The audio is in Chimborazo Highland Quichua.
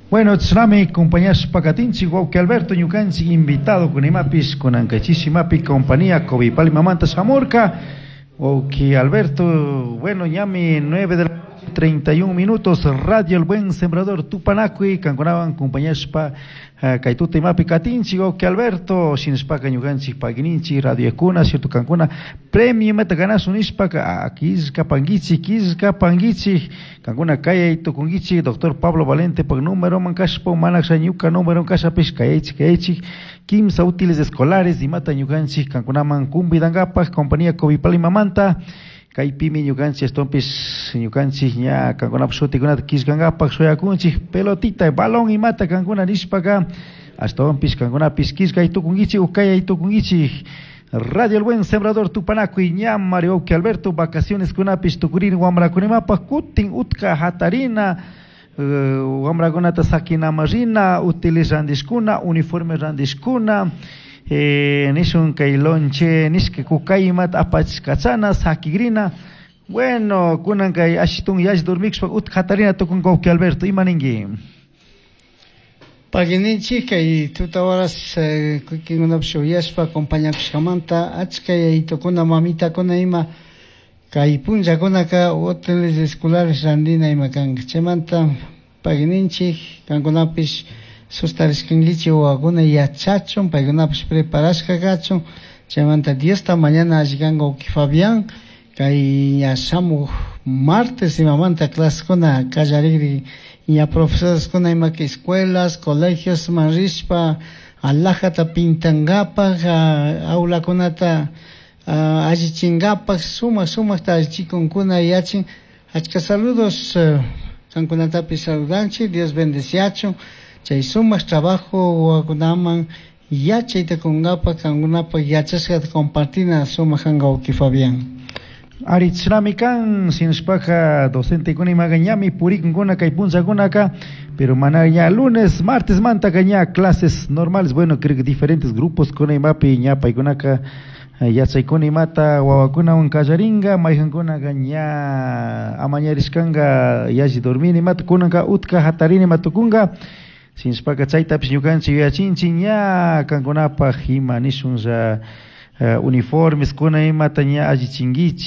Bueno, chashnami compañashpa katinchik wawki Alberto, ñukanchik invitado kunimapis kunankachishimapi compañía Covipalmamanta shamurka. Wawki Alberto, bueno, ñami 9 de la 31 minutos, Radio El Buen Sembrador Tupanakuy, kankunawan compañashpa kay tuta imapi katinchik, wawki Alberto, shinashpaka ñukanchik pagininchik radiokuna, cierto kankuna premio imata ganasun nishpaka killkapankichik, killkapankichik, kankuna kayay tukunkichik, doctor Pablo Valente pak número man kashpa, mana ñuka número kashapish kayaychik, kayaychik, kimsa útiles escolares imata ñukanchik kankunaman cumbidankapak compañía Covipalmamanta. Kaypimi ñukanchik ashtawanpish ñukanchik ña kankunapak shutikunata killkankapak shuyakunchik pelotita, balón imata kankuna nishpaka ashtawanpish kankunapish killkay tukunkichik o kayay tukunkichik. Radio El Buen Sembrador Tupanakuy ña Mario wawki Alberto vacaciones kunapish tukurin wamrakunapak kutin utka hatarina wamrakunata sakinaman rina útiles randishkuna uniforme randishkuna nishun kay lonche nishka kukay imata apachkachana sakigrina. Bueno, kunan kay ashitun yash dormikshpa utka hatarina tukun wawki Alberto, ima ninki? Pagininchik kay tuta horas kikinkunapish uyashpa acompañakushkamanta achka yayitukuna mamitakuna ima kay punllakunaka útiles escolares randina ima kanka chaymanta pagininchik kankunapish sustarishkankichik wawakuna yachachun paykunapish preparashka kachun chaymanta Diosta mañana alli kanka wawki Fabián kay ña shamuj martes imamanta clasekuna kallarikri ña profesoreskuna imaka escuelas colegios man rishpa alajata pintankapak aulakunata allichinkapak sumak sumakta allichikunkuna yachin achka saludos kankunatapish saludanchik Dios bendeciachun chay sumak trabajo wawakunaman yachayta kunkapak kankunapak yachashkata compartina sumak kanka wawki Fabián. Ari chashnami kan shinashpaka docentekuna imaka ñami purikunkuna kay punllakunaka, pero mana ña lunes, martes mantaka ña clases normales, bueno, creo que diferentes grupos kuna imapi ña paykunaka yachaykuna imata wawakunawan kallarinka, mayjankunaka ña amañarishkanka yalli dormini imata kunanka utka hatarini ima tukunka, shinashpaka chaytapish ñukanchik yuyachinchik ña kankunapak ima nishunlla uniformes kuna imata ña allichinkichik.